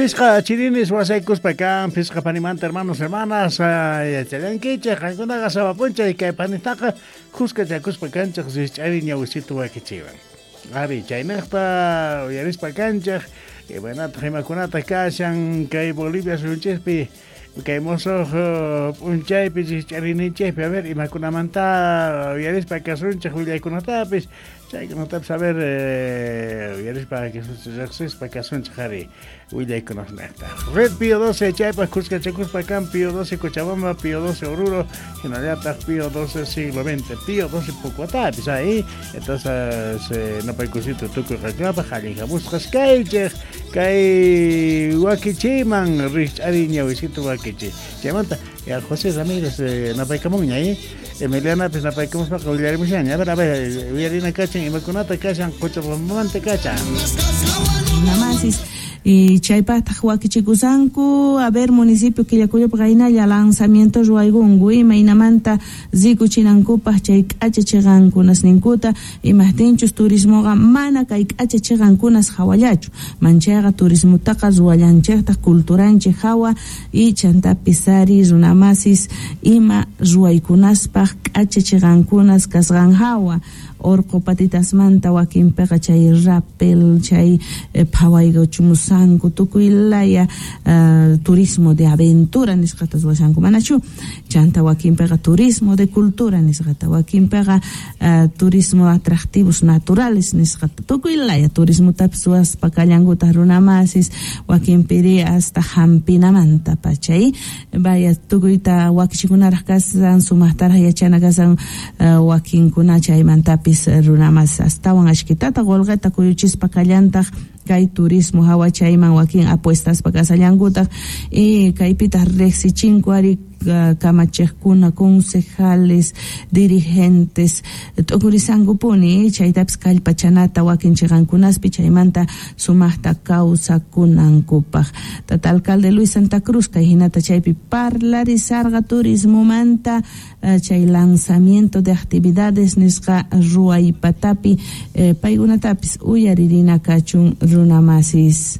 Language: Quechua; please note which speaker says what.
Speaker 1: Phisqa chirinis wasaykuspa kan, phisqa panimanta hermanos, hermanas, yachallankichik, qankunaqa sapa p'unchay kay panitaqa khuskachakuspa kanchik rikch'ari ñawisitu wakichiwan. Ari, chayniqta uyarispa kanchik, imaynataq imakunataq kashan kay Bolivia suyunchikpi, kay musuq p'unchaypi rikch'arininchikpi, a ver, imakunamanta uyarispa kasunchik willaykunatapis, chaykunatapis, a ver, uyarispa riqsispa kasunchik ari willaykunasniqta. Red Pío 12 chaypaq khuskachakuspa kan Pío 12 Cochabamba, Pío 12 Oruro, hinallataq Pío 12 siglo XX, Pío 12 Pucuatapis ahí. Entonces, napaykusito tukuy qankunapaq allin hamusqas kaychik kay wakichiman rikch'ari ñawisito wakichi. Chaymanta ya José Ramírez napaykamunña, ¿eh? Emilianapis napaykamuspaqa willarimushanña. A ver, uyarina kachan imakunata kashan Cochabambamanta kachan.
Speaker 2: Namasis y chaypaqtaq wakichikusanku, a ver, municipio Quillacollopi qaynalla lanzamiento ruwaykunku imaynamanta rikuchinankupaq chay k'acha chiqankunasninkuta, imaqtinchus turismoqa mana kay k'acha chiqankunas hawallachu, manchayqa turismotaqa ruwallanchiktaq culturanchik hawa y chantapis ari runamasis ima ruwaykunaspaq k'acha chiqankunas kasqan hawa. Orqo patitasmanta wakinpiqa chay rappel, chay phawaykuchumusanku tukuy laya turismo de aventura nisqata ruwashanku manachu, chanta wakinpiqa turismo de cultura nisqata, wakinpiqa turismo atractivos naturales nisqata, tukuy laya turismotapis ruwaspa kallankutaq runamasis, wakinpiri hasta hampinamanta pachay, vaya tukuyta wakichikunaraq kasan, sumaqtaraq yachana kasan, wakinkuna chaymantapis runamas astawan ashkitata qolqeta kuyuchispa kallantaq kay turismo hawa chayman wakin apuestaspa kasallankutaq y kaypitaq riqsichinku ari kamachiqkuna, concejales, dirigentes t'ukurisankupuni chaytapis kallpachanata wakin chiqankunaspi chaymanta sumaqta kawsakunankupaq. Tata alcalde Luis Santa Cruz kay hinata chaypi parlarisarqa turismomanta chay lanzamiento de actividades nisqa ruwaypatapi paykunatapis uyaririna kachun runamasis.